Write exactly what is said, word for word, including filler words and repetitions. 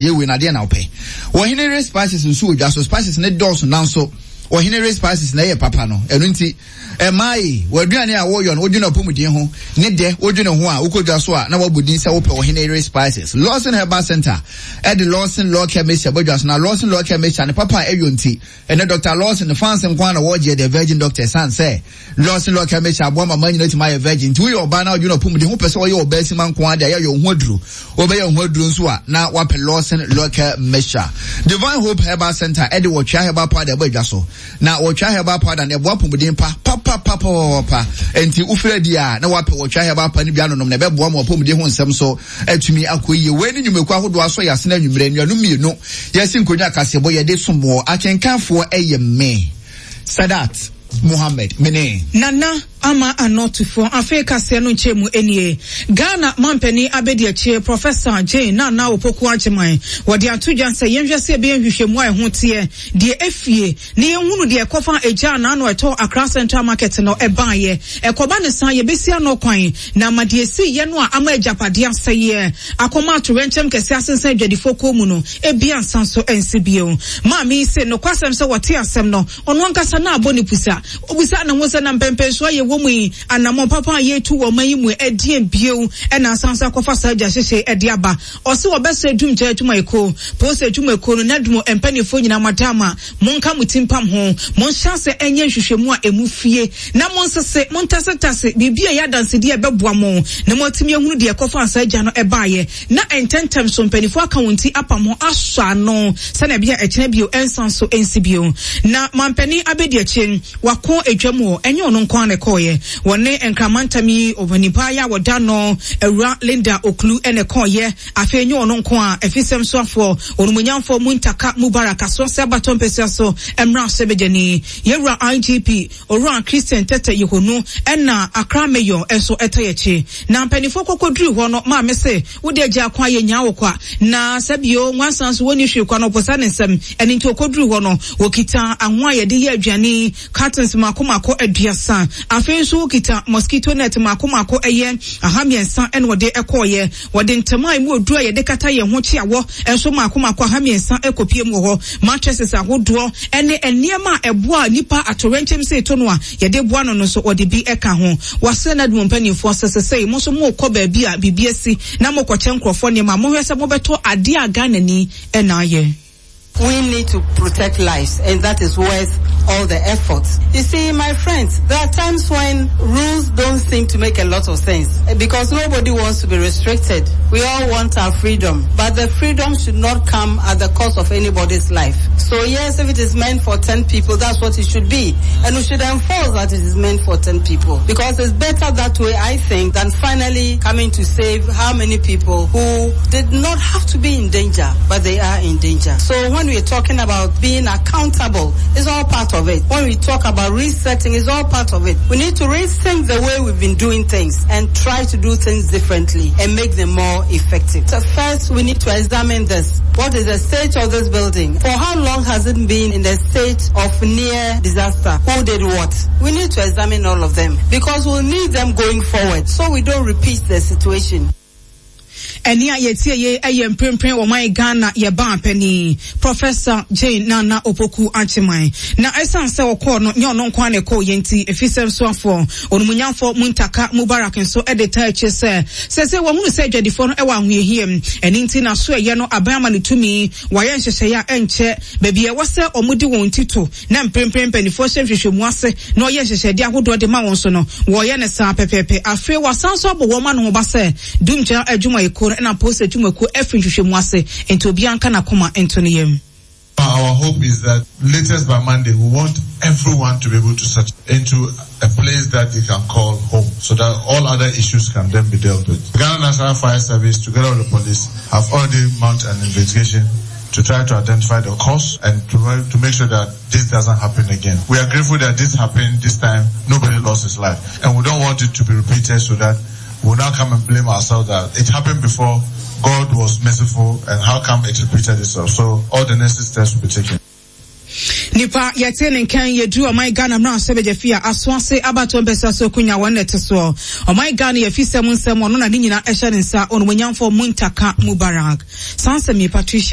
Yɛ wei na adeɛ na wopɛ. Ɔhene re spices nso wɔ dwa so. Spices ne dɔɔso nanso ɔhene re spices na ɛyɛ papa no. Ɛno nti, ɛmaa yi, w'aduane a wɔyɔ no, wodwene apɔmuden ho ne dɛ, wodwene ho a, wokɔ dwa so a, na wabɔ din sɛ wopɛ ɔhene re spices. Lawson Herbal Center ɛde Lawson Law Care Mixture bɔ dwa so na Lawson Law Care Mixture ne papa a ɛyɔ nti, ɛnɛ Doctor Lawson ne fans nko ara na wɔgyeɛ the Virgin Doctor ɛsiane sɛ Lawson Law Care Mixture aboa ma mmaa nyinaa atumi ayɛ virgin. Nti woyɛ ɔbaa na wodwene apɔmuden ho pɛ sɛ ɔyɛ ɔbaa sima nko ara de a, yɛyɛ wo ho aduro. Wobɛyɛ ho aduro nso a, na wapɛ Lawson Local Mixture. Divine Hope Herbal Center ɛde wɔtwea herbal powder ɛbɔ adwa so. Na wɔtwea herbal powder no ɛboa apɔmuden pa papapapapapa. Enti wofiri adi a, na wapɛ wɔtwea herbal powder no bi anonom na ɛbɛboa ma apɔmuden ho nsɛm so atumi akɔ yie. Wei ne nnwumakuo ahodoɔ asɔ yɛ asene anwummerɛ nnuanom mmienu. Yɛsi nkonnwa kaseɛbɔ yɛde som wɔ akenkanfoɔ ɛyɛ me. Sadat Muhammad mene. Nana Ama Anɔtufoɔ afei kaseɛ no nkyɛn mu nie. Ghana mampanin abadiakyire Professor Jane Nana Opoku Agyemang wɔde ato dwa sɛ yɛnhwɛ sɛ yɛbɛyɛ nhwehwɛmu a ɛho teɛ deɛ efie na yɛnhunu deɛ ɛkɔfa egya a n'ano ɛtɔ Accra Central Market no ɛbaeɛ. Ɛkɔba ne saa yɛbɛsi ano kwan na ama deɛ esi yɛ no a ama agyapadeɛ asɛeɛ akɔma atoyerɛnkyɛm kɛseɛ asensan adwadifoɔ kɔn mu no ebi ansa nso ɛnsi bio. Maame yi se nokwasɛm sɛ wɔte asɛm no ɔno ankasa na abɔ ne pusa. Obisa ne ho sɛ na mpɛmpɛnsoɔ a yɛwɔ mu yi, anammɔn papa a yɛretu wɔ ɔman yi mu ɛdeɛn bio ɛna asan so akɔfa saa gya hyehye ɛde aba. Ɔse wɔbɛsrɛ dumgya adwumayɛkuo, polisi adwumayɛkuo no, NADMO mpanimfoɔ nyinaa mo ada ama monka mo ti mpam ho, monhyɛ ase ɛnyɛ nhwehwɛmu a emu fie na monsese, montasetase biribi a ɛyɛ adansedie a ɛbɛboa mo na moatumi ahunu deɛ ɛkɔfa saa gya no ɛbaeɛ na ntɛntɛm so mpanimfoɔ aka wɔn ti apam ho asɔ ano sɛnea ɛbɛyɛ ɛkyerɛ bio ɛnsan so ɛnsi bio. Na mampanin abɛdi akyire wako edwam hɔ ɛnyɛ ɔno nko ara na ɛkɔɔyɛ wɔne nkramantam yi ɔnipa yi a wɔda no awura Linda Oklu ɛna ɛkɔɔyɛ afei ɛnyɛ ɔno nko a efisɛm soafoɔ onumunyamfoɔ Muntaka Mubarak asoase abatɔ mpɛsua so mmra ahyɛbadwani yɛwura I G P Owura Christian Tete Yehonu ɛna Accra Mayor nso ɛtɔ yɛkyi na mpanimfoɔ kɔkɔduru hɔ no maame se wode agya akwa yɛ nyaa wɔ kwa na sɛbio nwansan so wɔnni hwee kwa no ɔpɔsa ne nsɛm ɛne nti ɔkɔduru hɔ no wɔkita ahoa a yɛde yɛ aduane cartons mako mako aduasa afei nso wokita mosquito net mako mako ɛyɛ aha mmiɛnsa ɛna wɔde ɛkɔɔyɛ wɔde ntoma a emu oduru a yɛde kata yɛn ho kyeawɔ nso mako mako aha mmiɛnsa ɛkɔpie mu wɔ hɔ mattresses ahodoɔ ɛne nneɛma a ɛboa nipa atorɛnkyɛm sɛ eto no a yɛde boa no no nso wɔde bi ɛka ho wɔasɛ na dum mpanimfoɔ sɛ sɛsɛ mo nso mo kɔ baabi a biribi asi na mo kɔkyɛ nkurɔfoɔ nneɛma mohwɛ sɛ mobɛtɔ adeɛ a Ghana ni ɛna ayɛ. We need to protect lives, and that is worth all the effort. You see, my friends, there are times when rules don't seem to make a lot of sense because nobody wants to be restricted. We all want our freedom, but the freedom should not come at the cost of anybody's life. So yes, if it is meant for ten people, that's what it should be. And we should enforce that it is meant for ten people because it's better that way, I think, than finally coming to save how many people who did not have to be in danger, but they are in danger. So when we're talking about being accountable, it's all part of it. When we talk about resetting, it's all part of it. We need to rethink the way we've been doing things and try to do things differently and make them more effective. So first, we need to examine this. What is the state of this building? For how long has it been in the state of near disaster? Who did what? We need to examine all of them because we'll need them going forward so we don't repeat the situation. Ɛne a yɛtie yɛ ɛyɛ mprempren wɔ man Ghana yɛba panin Professor Jane Nana Opoku Agyemang na ɛsiane sɛ ɔkɔɔ no nyɛ ɔno nko ara na ɛkɔɔ yɛ nti efisɛm soafoɔ onumunyamfoɔ Muntaka Mubarak nso ɛde taa akyire sɛ sɛ sɛ wɔhunu sɛ adwadifoɔ no ɛwɔ ahohiahia mu ɛne nti na so ɛyɛ no aban ama no tumi wɔayɛ nhyehyɛeɛ a ɛnkyɛ baabi ɛwɔ sɛ wɔn de wɔn ti to na mprempren mpanimfoɔ hyɛ nhwehwɛmu ase na ɔyɛ nhyehyɛdeɛ ahodoɔ de ma wɔn so no wɔyɛ ne saa pɛpɛɛpɛ. Afei wasan so abɔ wɔn ano ho ba sɛ dumgya adwumayɛkuo no ɛna polisi adwumayɛkuo afiri nhwehwɛmu ase nti obiara nka n'akoma nto ne yam. Our hope is that latest by Monday, we want everyone to be able to settle into a place that they can call home so that all other issues can then be dealt with. The Ghana National Fire Service, together with the police, have already mounted an investigation to try to identify the cause and to, to make sure that this doesn't happen again. We are grateful that this happened this time. Nobody lost his life. And we don't want it to be repeated so that we'll now come and blame ourselves that it happened before, God was merciful, and how come it repeated itself. So all the necessary steps will be taken. Nipa yɛte ne nkan yɛduru ɔman Ghana mmara sɛ bɛgya fie a asoase abatoɔ mpɛsɛ so kunya wɔn na ɛte soɔ ɔman Ghana yɛfi sɛm nsɛm ɔno na ne nyinaa ɛhyɛ ne nsa onumonyamfoɔ Muntaka Mubarak saa nsɛm yi Patricia.